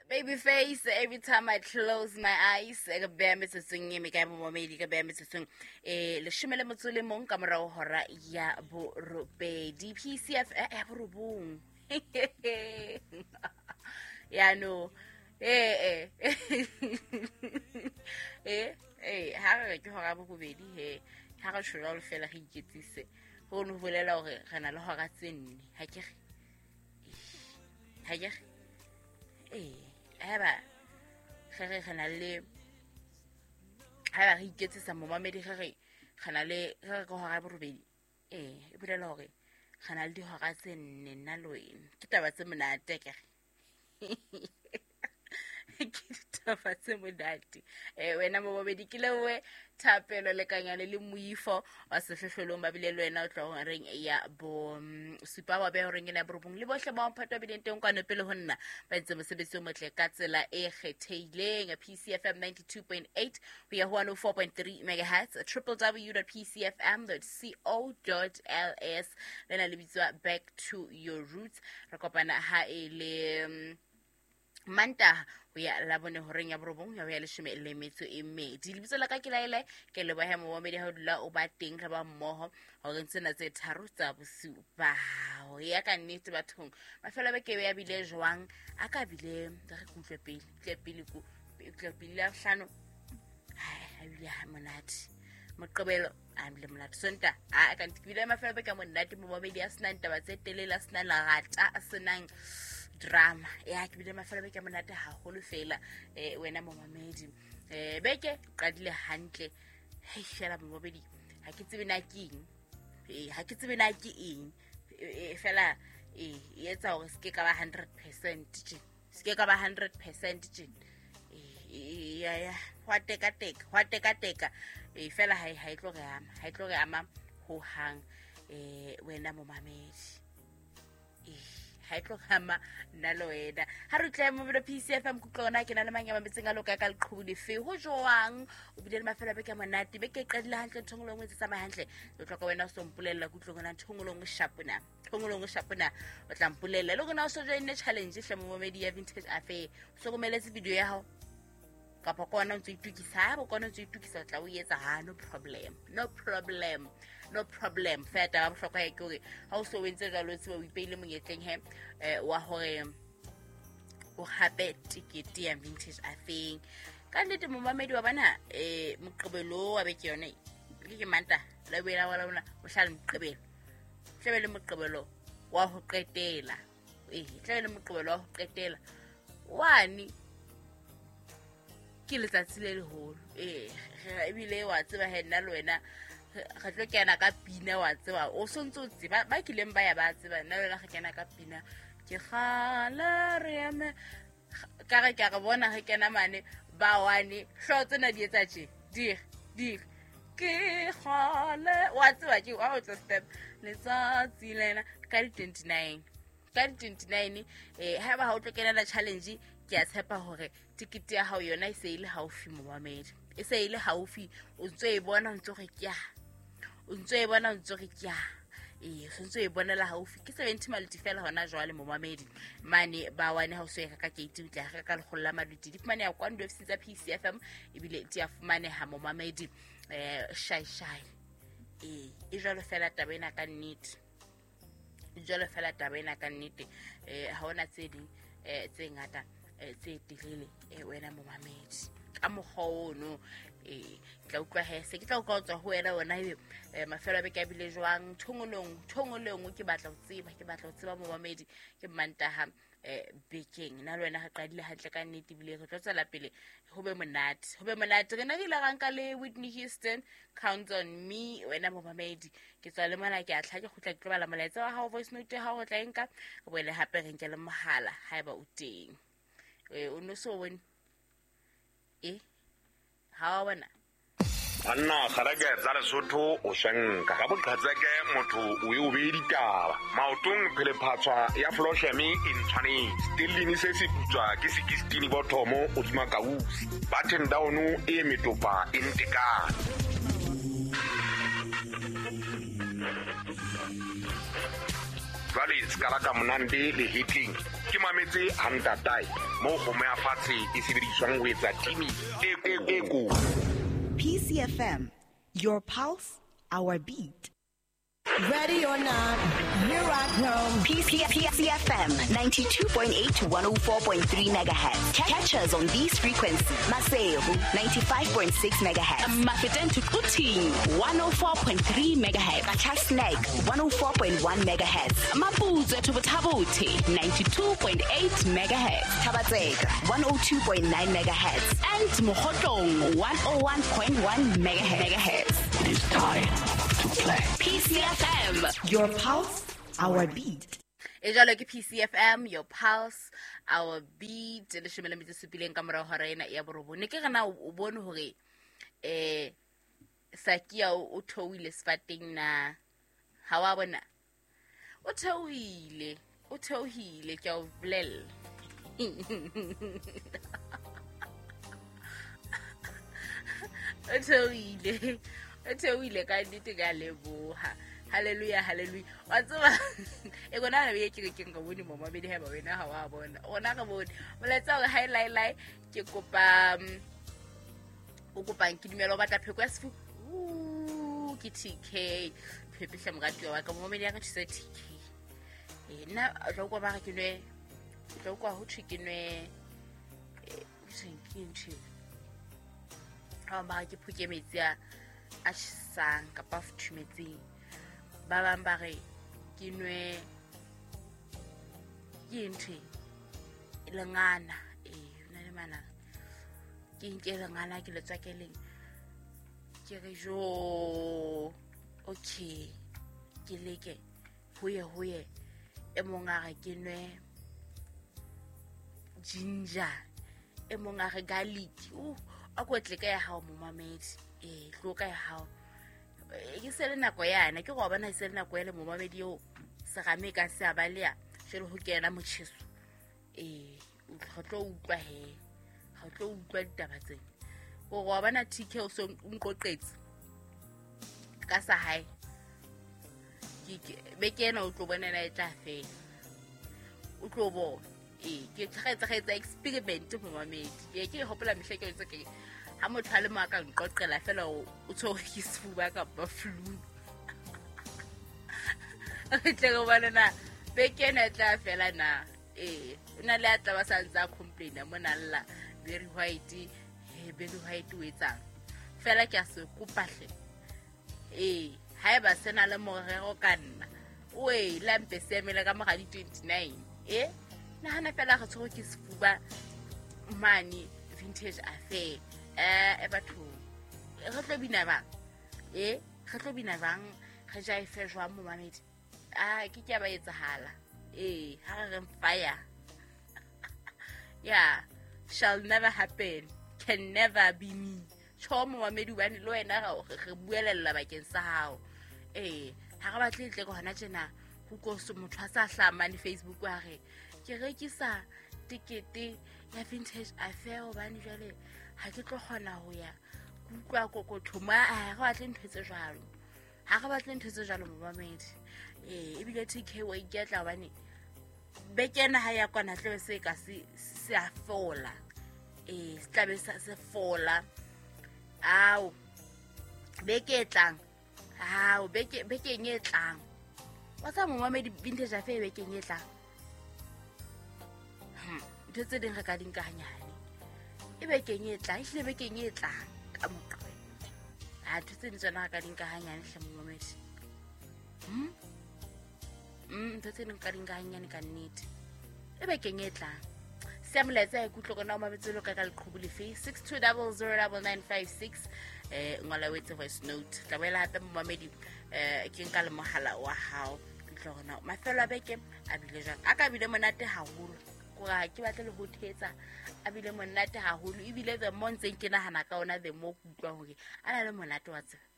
Babyface, every time I close my eyes, re beha metsotsong e mekae momamedi, re beha metsotsong e 11 ka morao hora ya borobedi. PCF ya borobong. Ya no. Eh eh. Eh ha re ke hora borobedi he. Ha re tjho jwalo fela re iketsise. Ho no bolela hore re na le hora tse nne. Ha ke re. Ha ke re. Ee, haeba re re re na le haeba re iketsisa momamedi re re re na le re re ke hora ya borobedi, ee e bolela hore re na le dihora tse nne nna le wena. Ke taba tse monate akere. Ke ditaba tse monate. Wena momamedi ke lebohe Thapelo Lekanyane le Moifo wa sehlohlolong ba bile le wena o tloha horeng ya bo supa wa beha horeng ena ya borobong le bohle ba mphato ba bileng teng kwano pele ho nna ba entse mosebetsi o motle ka tsela e kgethehileng. PCFM 92.8 ho ya ho 104.3 megahertz, www.pcfm.co.ls. Lena le bitswa Back to Your Roots. Re kopana ha e le Mantaha ho ya Labone horeng ya borobong ya ho ya 12. Lebitso la ka ke Laele, ke lebohe momamedi ha o dula o ba teng re ba mmoho horeng tsena tse tharo tsa bosiu bao. Ya ka nnete bathong, mafelo a beke ya bile jwang? A ka bile re ke utlwe pele, utlwe pele ko, utlwe pele la bohlano. Hai, a bile ha monate. Moqebelo a bile monate. Sonta a ka nnete ke bile mafelo a beke a monate momamedi a senang taba tse telele, a senang lerata, a senang drama. Ya ke bile mafelo a beke a monate haholo fela, wena momamedi. Beke qadile hantle. Hei fela momamedi, ha ke tsebe na ke eng. Ha ke tsebe na ke eng. Fela e etsa hore se ke ka ba 100% tje. Se ke ka ba 100% tje. Ya ya, hwa teka teka, hwa teka teka. Fela ha e tlo re ama, ha e tlo re ama ho hang, wena momamedi. Ha e tlo re ama nna le wena. Ha re tle mo bile PCFM kutlwa ke na le mang ya mametseng a loka ka leqhubu lefe ho jwang? O bile le mafelo a beke a monate, beke e qadile hantle, ntho e nngwe le nngwe e tse tsamaya hantle. O tloka wena o so mpolella kutlwa ngwana ntho e nngwe le nngwe sharp na. Ntho e nngwe le nngwe sharp na. O tla mpolella. Le rona o so join challenge hle momamedi ya Vintage Affair. O hlokomeletse video ya hao kapa ke ona o ntso itokisa, ha bo kona o ntso itokisa o tla o etsa, ha no problem, no problem, no problem. Fela taba ya bohlokwa ke hore ha o so o entse jwalo, o tsebe o ipeile monyetleng he, wa hore o hape tikete ya Vintage Affair. Ka nnete momamedi wa bana, Moqebelo wa beke yone ke Mantaha, la boela wa lona mohla le Moqebelo. Tlabe le Moqebelo wa ho qetela. Tlabe le Moqebelo wa ho qetela. Wane ke letsatsi le leholo. Ebile wa tseba he nna le wena re tlo kena ka pina, wa tseba o sontse o tseba ba kileng ba ya ba tseba nna le wena re kena ka pina. Ke kgale re eme ka re ke a re bona re kena mane ba wane hlooho tsena di etsa tje di di ke kgale wa tseba ke wa o tla step letsatsi lena ka di 29, ka di 29. Haeba ha o tlo kenela challenge, ke a tshepa hore tikete ya hao yona e se e le haufi momamedi, e se e le haufi, o ntso e bona o ntso re kya, o ntso e bona o ntso re kya. O ntso e bonela haufi. Ke 70 maluti fela hona jwale momamedi. Mane ba wane ha o so e reka keiti, o tla reka ka lekgolo la maluti. Di fumaneha kwano diofising tsa PCFM, ebile di a fumaneha momamedi. Shai shai. E jwalo fela taba ena ka nnete. E jwalo fela taba ena ka nnete. Ha hona tse ding, tse ngata, tse telele, wena momamedi. Ka mokgwa ono, tla utlwa he, se ke tla utlwa ho tswa ho wena wena ebe, mafelo a beke a bile jwang. Ntho nngwe le nngwe ke batla ho tseba, ke batla ho tseba momamedi, ke Mantaha, bekeng. Nna le wena re qadile hantle ka nnete, ebile re tlo tswela pele ho be monate, ho be monate. Re ne re ile ra nka le Whitney Houston, Count on Me, wena momamedi. Ke tswa le mona, ke a tlha, ke kgutla ke tlo bala molaetsa wa hao, voice note ya hao, re tla e nka, re boele hape re nke le mohala haeba o teng. O no so bone? Ha wa bona? Banna kgareke tsa Lesotho o swenka ka boqhetseke, motho o e o beye ditaba maotong, phelephatswa ya flosheme e ntshwanetse stellini se se putswa ke sekistini bothomo o tsuma kausi button down e metopa e ntekane. Jwale Jwale se kala ka monande lehetleng ke mametse ha ntatae moo kgomo ya fatshe e sebediswang ho etsa timi e ko. PCFM, your pulse, our beat. Ready or not, here I come. PCFM 92.8 to 104.3 megahertz. Catch us on these frequencies. Maseru 95.6 megahertz. Mafeteng to Quthing 104.3 megahertz. Qacha's Nek 104.1 megahertz. Maputsoe to Botha-Bothe 92.8 megahertz. Thaba-Tseka 102.9 megahertz. And Mokhotlong 101.1 megahertz. It is time to play. PCFM, your pulse, our beat. E jwalo ke PCFM, your pulse, our beat. Leshome le metso e supileng ka morao hora ena ya borobong. Ne ke re na o bone hore Sakia o theohile sefateng na? Ha wa bona? O theohile, ke a o bolella. O theohile ka nnete, ka leboha. Hallelujah, hallelujah. Wa tseba, e kona na be ke ke nka bone momamedi haeba wena ha wa bona. Rona re bone. Molaetsa hore ha e lai lai ke kopa o kopang ke dumela o batla pheko ya sefu. Ke TK. Phepehla moratuwa wa ka momamedi ya ka thuse TK. Nna o tla utlwa ba re ke nwe, o tla utlwa ho thwe ke nwe ke ntho. Ha ba ke phuke metsi a tjhesang kapa a futhumetseng. Ba bang ba re ke nwe ke ntho lengana, na le mana ke nke lengana ke le tswakeleng, ke re jo okay ke leke hoye e mong a re ke nwe ginger, e mong a re garlic. A ko tle ka ya hao momamedi, tlo ka ya hao. Ke se le nako yana ke go bona se le nako ele momamedi eo serame ka se a balea jele ho kena motjheso. O tlo utlwa he, ha o tlo utlwa ditaba tsena. Go go bona TK o so nqoqetse ka sa hae. Ke be kena o tlo bona na e tla fela. O tlo bona. Ke tshagaetsa experiment momamedi. Ke hopola mehla ke tse ke ha motho a le mo a ka nqoqela fela o tshwere ke sefuba kapa flu. Re tle re bone na beke ena e tla fela na. O na le a tla ba sa ntse a complaina mona lla Very White, Very White o etsang. Fela ke a se kopa hle. Haeba se na le morero ka nna, oe la mpe se emele ka mora di 29. Nahana fela re tshwere ke sefuba mane Vintage Affair. Batho re tlo bina bang? Re tlo bina bang? Re ja efe jwang momamedi? Ke ke a ba etsahala. Ha re reng fire. Yeah, shall never happen. Can never be me. Tjho momamedi hobane le wena re buelella bakeng sa hao. Ha re batle tle ke hona tjena ho koso motho a sa hlamane Facebook wa re ke rekisa tikete ya Vintage Affair hobane jwale ha ke tlo kgona ho ya ke utlwa kokothomo. Ha re batle ntho tse jwalo, ha re batle ntho tse jwalo momamedi. Ebile TK wa iketla hobane beke ena ha ya kwana tlabe se ka se a fola. Se tlabe se fola. Ao beke e tlang, ao bekeng e tlang wa tsa momamedi Vintage Affair bekeng e tlang. Ntho tse ding re ka di nka hanyane. E bekeng e tlang, ehlile bekeng e tlang ka moqebelo. Ntho tse ding tsona re ka di nka hanyane hle momamedi. Ntho tse ding ka di nka hanyane ka nnete. E bekeng e tlang. Sia molaetsa ya ikutlwa kona o mametse lo ka ka leqhubu lefe 62009956. Ngola o etse voice note. Tla boela hape momamedi ke nka le mohala wa hao. Ke tlo rona mafelo a beke a bile jwang? A ka bile monate haholo. Kore ha ke batle le ho thetsa, a bile monate haholo. Ebile the more ntseng ke nahana ka ona, the more ke utlwa hore a na le monate wa tseba.